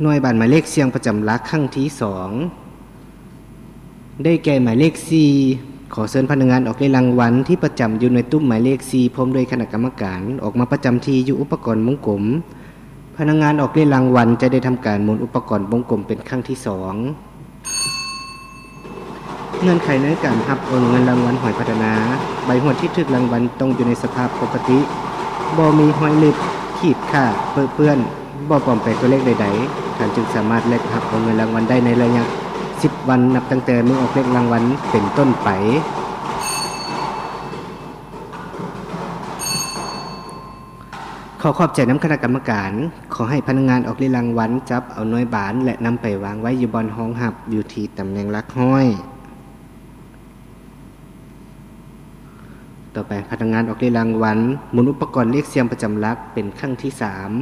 ໜ່ວຍບານໝາຍເລກສ່ຽງປະຈຳຫຼັກຄັ້ງທີສອງ ໄດ້ແກ່ໝາຍເລກສີ່. ຂໍເຊີນພະນັກງານອອກເລກລາງວັນທີ່ປະຈຳຢູ່ໃນຕຸ້ມໝາຍເລກສີ່ ພ້ອມດ້ວຍຄະນະກຳມະການ ອອກມາປະຈຳທີ່ຢູ່ອຸປະກອນວົງກົມ. ພະນັກງານອອກເລກລາງວັນຈະໄດ້ທຳການໝູນອຸປະກອນວົງກົມເປັນຄັ້ງທີສອງ. ເງື່ອນໄຂໃນການຮັບເອົາເງິນລາງວັນຫວຍພັດທະນາ, ໃບຫວຍທີ່ຖືກລາງວັນຕ້ອງຢູ່ໃນສະພາບປົກກະຕິ, ບໍ່ມີຮອຍລຶບ, ຂີດຂາດ, ເປິເປື້ອນ, ບໍ່ປອມແປງຕົວເລກໃດໆ, ທ່ານຈຶ່ງສາມາດແລກຮັບເອົາເງິນລາງວັນໄດ້ໃນໄລຍະສິບວັນ ນັບຕັ້ງແຕ່ມື້ອອກເລກລາງວັນເປັນຕົ້ນໄປ. ຂໍຂອບໃຈນຳຄະນະກຳມະການ. ຂໍໃຫ້ພະນັກງານອອກເລກລາງວັນຈັບເອົາໜ່ວຍບານ ແລະ ນຳໄປວາງໄວ້ຢູ່ບ່ອນຮອງຮັບ ຢູ່ທີ່ຕຳແໜ່ງຫຼັກຮ້ອຍ. ຕໍ່ໄປ, ພະນັກງານອອກເລກລາງວັນໝູນອຸປະກອນເລກສ່ຽງປະຈຳຫຼັກເປັນຄັ້ງທີສາມ.